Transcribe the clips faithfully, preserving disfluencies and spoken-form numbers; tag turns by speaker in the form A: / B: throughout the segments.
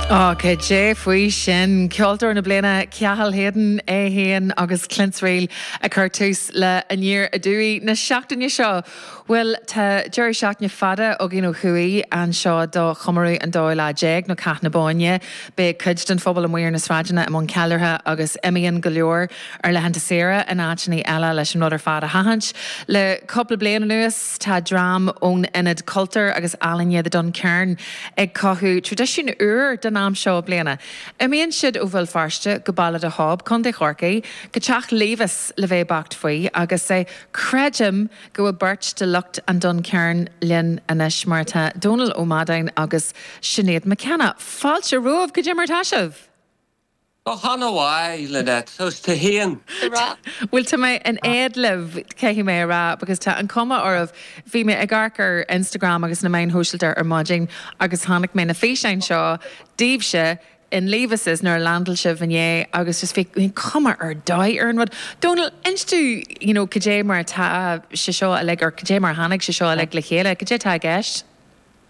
A: Á cad é faoi sin ceoltóir na bliana Cathal Hayden é féin agus Clints Reel a chur tús le Aniar Aduaidh na seachtaine seo. Bhuel tá deireadh seachtaine fada againn ó thuaidh anseo do chomóradh an dóú lá déag nó Cath na Bóinne, Beidh cuid den phobal amuigh ar na sráideanna i mbun ceiliúrtha agus imíonn go leor ar laethanta saoire in áiteanna eile leis an rud ar fad a sheachaint. Le cúpla bliain anuas tá dream ón Ionad Cultúir agus Ealaíne The Duncairn ag cothú traidisiún úr den am seo bliana. Imíonn siad ó Bhéal Feirste go Baile de Hob Contae Chorcaí, go teach Levis le bheith beacht faoi agus é creidim go bhfuil beirt de lucht an Duncairn linn anois mar tá Dónal Ó Madáin agus Sinéad McKenna. Fáilte romhaibh cad é mar atá sibh.
B: Go han-mhaith Lynette agus tú féin.
A: Bhuel tá mé in éad libh caithfidh mé a rá, because tá an cuma oraibh bhí mé ag amharc ar Instagram agus na meáin shóisialta ar maidin agus chonaic mé na físeáin seo daoibhse in Levis's nuair a landáil sibh inné agus just bhí cuma ar dóigh ar an rud. Dónal inis dúinn you know, cad é mar tá sé seo uilig or cad é mar tháinig sé seo uilig le chéile, cad é atá i gceist?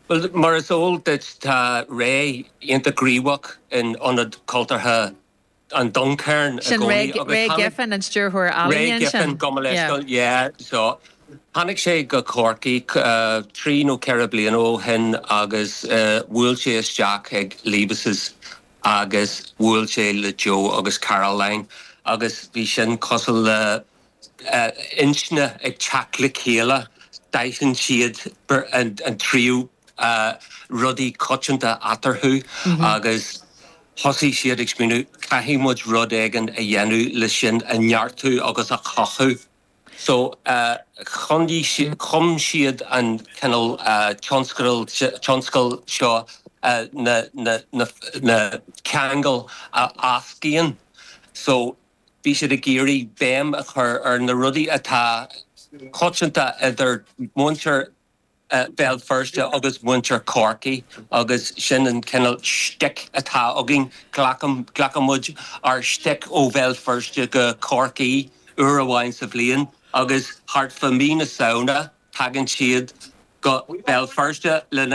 B: Well mar is eol duit tá Ray iontach gníomhach in ionad cultúrtha an Duncairn
A: Sin Ray Giffen an stiúrthóir
B: Ray Giffen go yeah so Tháinig sé go Corcaigh uh, trí nó ceithre bliana ó shin agus uh, bhuail sé isteach ag Levis's agus bhuail sé le Joe agus Caroline agus bhí sin cosúil le uh, intinne ag teacht le chéile d'aithin siad an, an tríú uh, rudaí coitianta eatarthu mm -hmm. agus thosaigh siad ag smaoineamh caithfidh muid rud éigin a dhéanamh le sin a neartú agus a chothú. So uh, chum siad an cineál uh, tionscadal seo uh, na, na, na, na ceangail a éascaíonn. So bhí siad ag iarraidh béim a chur ar na rudaí atá coitianta idir muintir uh, Béal Feirste agus muintir Corcaí agus sin an cineál shtick atá againn glacaimid ár stick ó Bhéal Feirste go Corcaigh uair amháin sa bhliain agus thart fá mí na Samhna tagann siad go Béal Feirste lena